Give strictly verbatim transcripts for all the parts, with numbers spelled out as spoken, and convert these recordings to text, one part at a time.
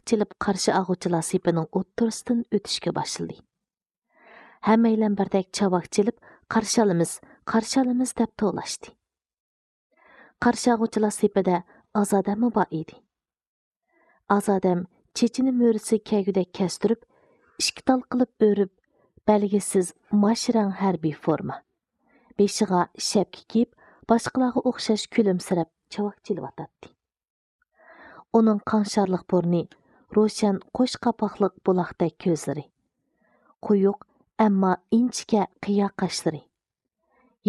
چېلىپ قارشى ئالغۇچىلار سېپىنىڭ ئوتتۇرىسىدىن ئۆتۈشكە باشلىدى. ھەممەيلەن بىردەك چاۋاك چېلىپ، «قارشى ئالىمىز، قارشى ئالىمىز» دەپ توۋلاشتى. قارشى ئالغۇچىلار سېپىدە ئازادەممۇ بار ئىدى. ئازادەم چېچىنى مۈرىسىگە كەلگۈدەك كەستۈرۈپ، ئىككى تال قىلىپ ئۆرۈپ، بەلگىسىز ماش رەڭ ھەربىي فورما، بېشىغا شەپكە كىيىپ، باشقىلارغا ئوخشاش كۈلۈمسىرەپ چاۋاك چېلىۋاتاتتى. ئۇنىڭ قاڭشارلىق بۇرنى، روشەن قوش قاپاقلىق بۇلاقتەك كۆزلىرى، قويۇق، ئەمما ئىنچىكە قىيا قاشلىرى،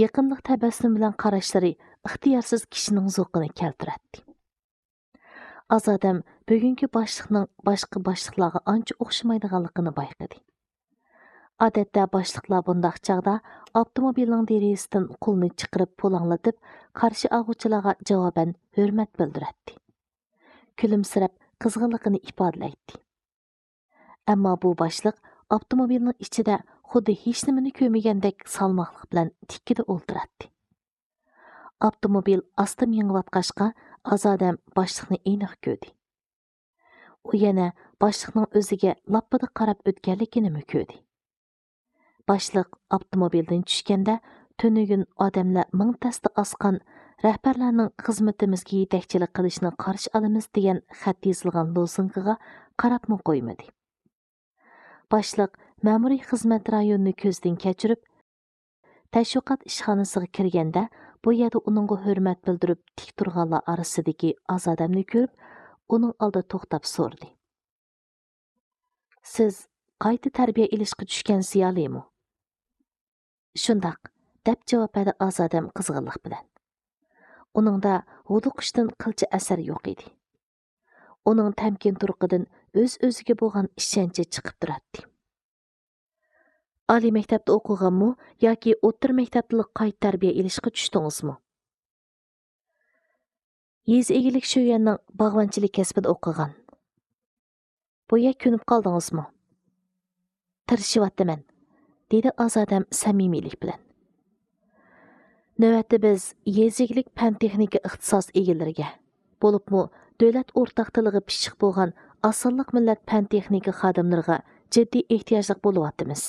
يېقىملىق تەبەسسۇم بىلەن قاراشلىرى ئىختىيارسىز كىشىنىڭ زوقىنى كەلتۈرەتتى. ئازادەم بۈگۈنكى باشلىقنىڭ باشقا باشلىقلارغا ئانچە ئوخشىمايدىغانلىقىنى بايقىدى. ئادەتتە باشلىقلار بۇنداق چاغدا ئاپتوموبىلنىڭ دېرىزىسىدىن قولىنى چىقىرىپ پۇلاڭلىتىپ، قارشى ئالغۇچىلارغا جاۋابەن ھۆرمەت بىلدۈرەتتى. كۈلۈمسىرەپ، قىزغىنلىقىنى ئىپادىلەيتتى. ئەمما بۇ باشلىق ئاپتوموبىلنىڭ ئىچىدە خۇددى ھېچنېمىنى كۆرمىگەندەك سالماقلىق بىلەن تىككىدە ئولتۇراتتى. ئاپتوموبىل ئاستا مېڭىۋاتقاچقا، ئازادەم باشلىقنى ئېنىق كۆردى. ئۇ يەنە باشلىقنىڭ ئۆزىگە لاپپىدە قاراپ ئۆتكەنلىكىنىمۇ كۆردى. باشلىق ئاپتوموبىلدىن چۈشكەندە، تۈنۈگۈن ئادەملەر مىڭ تەستە ئاسقان، «رەھبەرلەرنىڭ خىزمىتىمىزگە يېتەكچىلىك قىلىشىنى قارشى ئالىمىز» دېگەن خەت يېزىلغان لوزۇنكىغا قاراپمۇ قويمىدى. باشلىق مەمۇرىي خىزمەت رايونىنى كۆزدىن كەچۈرۈپ، تەشۋىقات ئىشخانىسىغا كىرگەندە، بۇ يەردە ئۇنىڭغا ھۆرمەت بىلدۈرۈپ تىك تۇرغانلار ئارىسىدىكى ئازادەمنى كۆرۈپ، ئۇنىڭ ئالدىدا توختاپ سورىدى: «سىز قايتا تەربىيە ئېلىشقا چۈشكەن زىيالىيمۇ؟» «شۇنداق»، دەپ جاۋاب بەردى ئازادەم قىزغىنلىق بىلەن. ئۇنىڭدا ھودۇقۇشتىن قىلچە ئەسەر يوق ئىدى. ئۇنىڭ تەمكىن تۇرقىدىن ئۆز-ئۆزىگە بولغان ئىشەنچى چىقىپ تۇراتتى. «ئالىي مەكتەپتە ئوقۇغانمۇ ياكى ئوتتۇرا مەكتەپتىلا قايتا تەربىيە ئېلىشقا چۈشتىڭىزمۇ؟» «يېزا ئىگىلىك شۆيۈەننىڭ باغۋەنچىلىك كەسپىدە ئوقۇغان.» «بۇ يەر كۆنۈپ قالدىڭىزمۇ؟» «تىرىشىۋاتىمەن»، دېدى ئازادەم سەمىمىيلىك بىلەن. «نۆۋەتتە بىز يېزا ئىگىلىك پەن تېخنىكا ئىختىساس ئىگىلىرىگە، بولۇپمۇ دۆلەت ئورتاق تىلىغا پىششىق بولغان ئاز سانلىق مىللەت پەن تېخنىكا خادىملىرىغا جىددىي ئېھتىياجلىق بولۇۋاتىمىز.»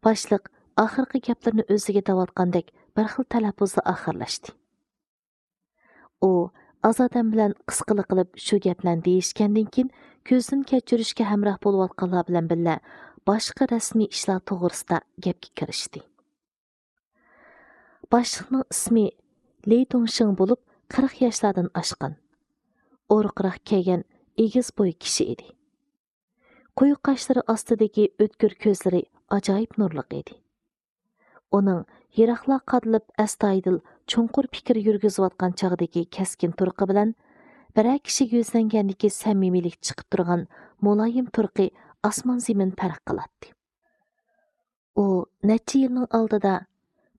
باشلىق ئاخىرقى گەپلىرىنى ئۆزىگە دەۋاتقاندەك بىر خىل تەلەپپۇزدا ئاخىرلاشتى. ئۇ ئازادەم بىلەن قىسقىلا قىلىپ شۇ گەپلەرنى دېيىشكەندىن كېيىن، كۆزدىن كەچۈرۈشكە ھەمراھ بولۇۋاتقانلار بىلەن بىللە باشقا رەسمىي ئىشلار توغرىسىدا گەپكە كىرىشتى. باشلىقنىڭ ئىسمى لى دۇڭشىڭ بولۇپ، قىرىق ياشلاردىن ئاشقان، ئورۇقراق كىيگەن ئېگىز بوي كىشى ئىدى. قويۇق قاشلىرى ئاستىدىكى ئۆتكۈر كۆزلىرى ئاجايىپ نۇرلۇق ئىدى. ئۇنىڭ يىراقلار قادىلىپ ئەستايىدىل چوڭقۇر پىكىر يۈرگۈزۈۋاتقان چاغدىكى كەسكىن تۇرقى بىلەن بىرەر كىشىگە يۈزلەنگەندىكى سەمىمىيلىك چىقىپ تۇرغان مۇلايىم تۇرقى ئاسمان زېمىن پەرق قىلاتتى. ئۇ نەچچە يىلنىڭ ئالدىدا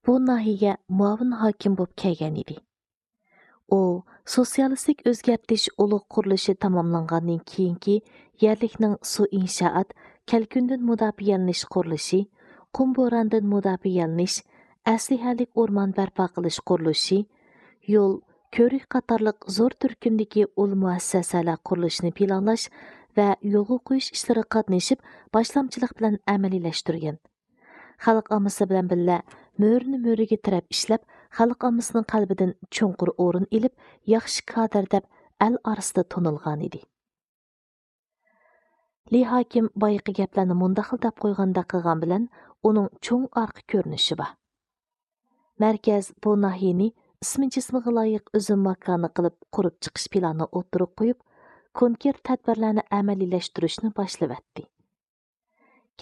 بۇ ناھىيەگە مۇئاۋىن ھاكىم بولۇپ كەلگەن ئىدى. ئۇ سوتسىيالىستىك ئۆزگەرتىش ئۇلۇغ قۇرۇلۇشى تاماملانغاندىن كېيىنكى يەرلىكنىڭ سۇ ئىنشائات، كەلكۈندىن مۇداپىئەلىنىش قۇرۇلۇشى، قۇم بوراندىن مۇداپىئەلىنىش، ئەسلىھەلىك ئورمان بەرپا قىلىش قۇرۇلۇشى، يول، كۆۋرۈك قاتارلىق زور تۈركۈمدىكى ئۇل مۇئەسسەسەلەر قۇرۇلۇشىنى پىلانلاش ۋە يولغا قويۇش ئىشلىرىغا قاتنىشىپ، باشلامچىلىق بىلەن ئەمەلىيلەشتۈرگەن. خەلق ئاممىسى بىلەن بىللە مۈرىنى مۈرىگە تىرەپ ئىشلەپ، خەلق ئاممىسىنىڭ قەلبىدىن چوڭقۇر ئورۇن ئېلىپ، ياخشى كادىر دەپ ئەل ئارىسىدا تونۇلغانىدى. لى ھاكىم بايىقى گەپلەرنى مۇنداق خىل دەپ قويغاندەك قىلغان بىلەن، ئۇنىڭ چوڭ ئارقا كۆرۈنۈشى بار. مەركەز بۇ ناھىيەنى ئىسمى جىسمىغا لايىق ئۈزۈم ماكانى قىلىپ قۇرۇپ چىقىش پىلانىنى ئوتتۇرىغا قويۇپ، كونكرېت تەدبىرلەرنى ئەمەلىيلەشتۈرۈشنى باشلىۋەتتى.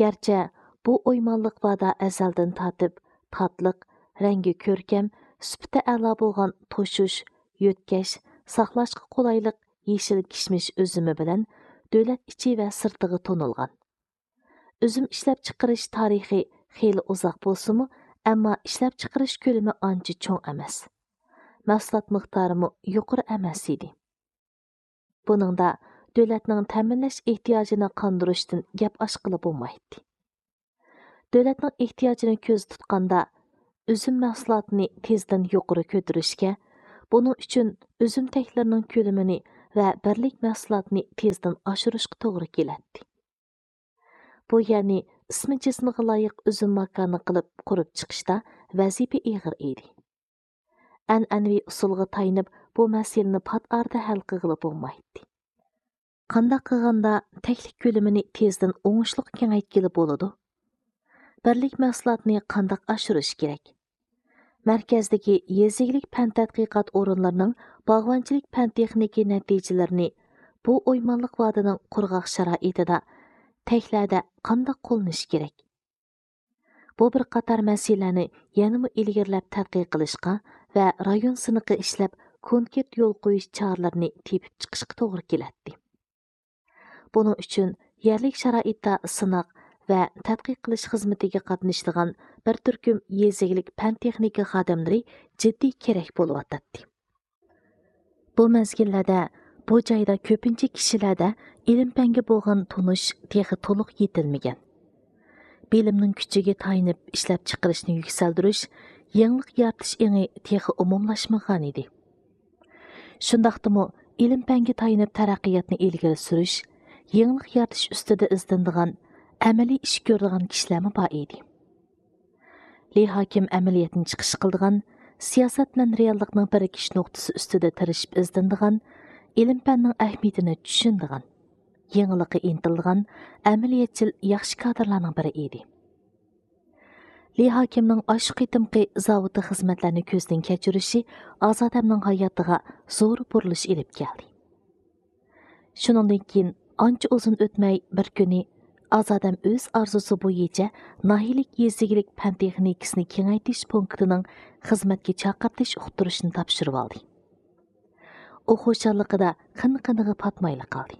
گەرچە بۇ ئويمانلىق باردا ئەزەلدىن تارتىپ تاتلىق، رەڭگى كۆركەم، سۈپىتى ئەلا بولغان توشۇش، يۆتكەش، ساقلاشقا قولايلىق يېشىل كىشمىش ئۈزۈمى بىلەن دۆلەت ئىچى ۋە سىرتىغا تونۇلغان. ئۈزۈم ئىشلەپچىقىرىش تارىخى خېلى ئۇزاق بولسىمۇ، ئەمما ئىشلەپچىقىرىش كۆلىمى ئانچە چوڭ ئەمەس. مەھسۇلات مىقدارىمۇ يۇقىرى ئەمەس ئىدى. بۇنىڭدا دۆلەتنىڭ تەمىنلەش ئېھتىياجىنى قاندۇرۇشتىن گەپ ئاچقىلى بولمايتتى. دۆلەتنىڭ ئېھتىياجىنى كۆزدە تۇتقاندا، ئۈزۈم مەھسۇلاتىنى تېزدىن يۇقىرى كۆتۈرۈشكە، بۇنىڭ ئۈچۈن ئۈزۈم تەكلىرىنىڭ كۆلىمىنى ۋە بىرلىك مەھسۇلاتنى تېزدىن ئاشۇرۇشقا توغرا كېلەتتى. بۇ يەرنى ئىسمى جىسمىغا لايىق ئۈزۈم ماكانى قىلىپ قۇرۇپ چىقىشتا ۋەزىپە ئېغىر ئىدى. ئەنئەنىۋى ئۇسۇلغا تايىنىپ، بۇ مەسىلىنى پات ئارىدا ھەل قىلغىلى بولمايتتى. قانداق قىلغاندا تەكلىك كۆلىمىنى تېزدىن ئوڭۇشلۇق كېڭەيتكىلى بولىدۇ؟ بىرلىك مەھسۇلاتنى قانداق ئاشۇرۇش كېرەك؟ مەركەزدىكى يېزا ئىگىلىك پەن تەتقىقات ئورۇنلىرىنىڭ باغۋەنچىلىك پەن تېخنىكى نەتىجىلىرىنى بۇ ئويمانلىق ۋادىنىڭ قۇرغاق شارائىتىدا تەكلەردە قانداق قوللىنىش كېرەك؟ بۇ بىر قاتار مەسىلىلەرنى يەنىمۇ ئىلگىرىلەپ تەتقىق قىلىشقا ۋە رايون سىنىقى ئىشلەپ، كونكرېت يول قويۇش چارىلىرىنى تېپىپ چىقىشقا توغرا كېلەتتى. بۇنىڭ ئۈچۈن يەرلىك شارائىتتا سىناق ۋە تەتقىق قىلىش خىزمىتىگە قاتنىشىدىغان بىر تۈركۈم يېزا ئىگىلىك پەن تېخنىكا خادىملىرى جىددىي كېرەك بولۇۋاتاتتى. بۇ مەزگىللەردە بۇ جايدا كۆپىنچە كىشىلەردە ئىلىم-پەنگە بولغان تونۇش تېخى تولۇق يېتىلمىگەن. بىلىمنىڭ كۈچىگە تايىنىپ ئىشلەپچىقىرىشنى يۈكسەلدۈرۈش، يېڭىلىق يارىتىش ئېڭى تېخى ئومۇملاشمىغانىدى. شۇنداقتىمۇ ئىلىم-پەنگە تايىنىپ تەرەققىياتنى ئىلگىرى سۈرۈش، يېڭىلىق يارىتىش ئۈستىدە ئىزدىنىدىغان ئەمەلىي ئىش كۆرىدىغان كىشىلەرمۇ بار ئىدى. لى ھاكىم ئەمەلىيەتنى چىقىش قىلىدىغان، سىياسەت بىلەن رېئاللىقنىڭ بىرىكىش نۇقتىسى ئۈستىدە تىرىشىپ ئىزدىنىدىغان، ئىلىم-پەننىڭ ئەھمىيىتىنى چۈشىنىدىغان، يېڭىلىققا ئىنتىلىدىغان ئەمەلىيەتچىل ياخشى كادىرلارنىڭ بىرى ئىدى. لى ھاكىمنىڭ ئاشۇ قېتىمقى زاۋۇتتا خىزمەتلەرنى كۆزدىن كەچۈرۈشى ئازادەمنىڭ ھاياتىغا زور بۇرۇلۇش ئېلىپ كەلدى. شۇنىڭدىن كېيىن ئانچە ئۇزۇن ئۆتمەي، بىر كۈنى ئازادەم ئۆز ئارزۇسى بويىچە ناھىيىلىك يېزا ئىگىلىك پەن تېخنىكىسىنى كېڭەيتىش پونكىتىنىڭ خىزمەتكە چاقىرتىش ئۇقتۇرۇشىنى تاپشۇرۇۋالدى. ئۇ خۇشاللىقىدا قىن-قىنىغا پاتمايلا قالدى.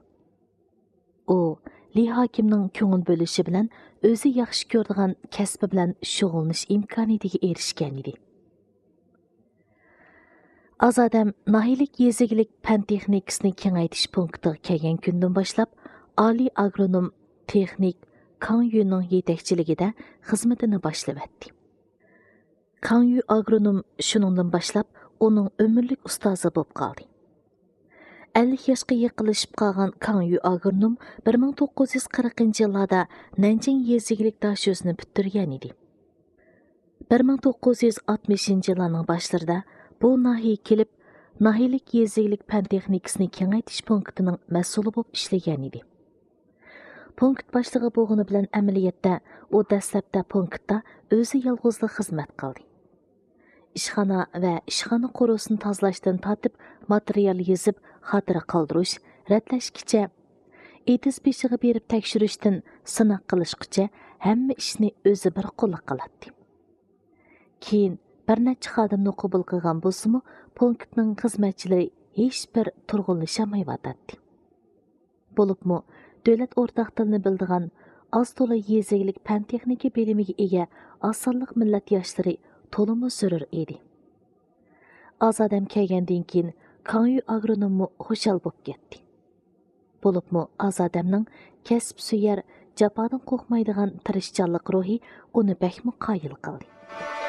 ئۇ لى ھاكىمنىڭ كۆڭۈل بۆلۈشى بىلەن ئۆزى ياخشى كۆرىدىغان كەسپى بىلەن شۇغۇللىنىش ئىمكانىيىتىگە ئېرىشكەنىدى. ئازادەم ناھىيىلىك يېزا ئىگىلىك پەن تېخنىكىسىنى كېڭەيتىش پونكىتىغا كەلگەن كۈندىن باشلاپ، ئالىي ئاگرونوم تېخنىك كاڭ يۈنىڭ يېتەكچىلىكىدە خىزمىتىنى باشلىۋەتتى. كاڭ يۈ ئاگرونوم شۇنىڭدىن باشلاپ ئۇنىڭ ئۆمۈرلۈك ئۇستازى بولۇپ قالدى. ئەللىك ياشقا يېقىنلىشىپ قالغان كاڭ يۈ ئاگرونوم بىر مىڭ توققۇز يۈز قىرىقىنچى يىللاردا نەنجىڭ يېزا ئىگىلىك داشۆسىنى پۈتتۈرگەن ئىدى. بىر مىڭ توققۇز يۈز ئاتمىشىنچى يىللارنىڭ باشلىرىدا بۇ ناھىيەگە كېلىپ، ناھىيەلىك يېزا ئىگىلىك پەن تېخنىكىسىنى كېڭەيتىش پونكىتىنىڭ مەسئۇلى بولۇپ ئىشلىگەن ئىدى. پونكىت باشلىقى بولغىنى بىلەن ئەمەلىيەتتە ئۇ دەسلەپتە پونكىتتا ئۆزى يالغۇزلا خىزمەت قىلدى. ئىشخانا ۋە ئىشخانا قورۇسىنى تازىلاشتىن تارتىپ، ماتېرىيال يېزىپ، خاتىرە قالدۇرۇش، رەتلەشكىچە، ئېتىز بېشىغا بېرىپ تەكشۈرۈشتىن سىناق قىلىشقىچە ھەممە ئىشنى ئۆزى بىر قوللۇق قىلاتتى. كېيىن بىر نەچچە خادىمنى قوبۇل قىلغان بولسىمۇ، پونكىتنىڭ خىزمەتچىلىرى ھېچبىر تۇرغۇنلىشالمايۋاتاتتى. بولۇپمۇ دۆلەت ئورتاق تىلىنى بىلىدىغان، ئاز تولا يېزا ئىگىلىك پەن تېخنىكا بىلىمىگە ئىگە ئاز سانلىق مىللەت ياشلىرى تولىمۇ زۆرۈر ئىدى. ئازادەم كەلگەندىن كېيىن، كاڭيۈ ئاگرونوممۇ خۇشال بولۇپ كەتتى. بولۇپمۇ ئازادەمنىڭ كەسىپ سۆيەر، جاپادىن قورقمايدىغان تىرىشچانلىق روھى ئۇنى بەكمۇ قايىل قىلدى.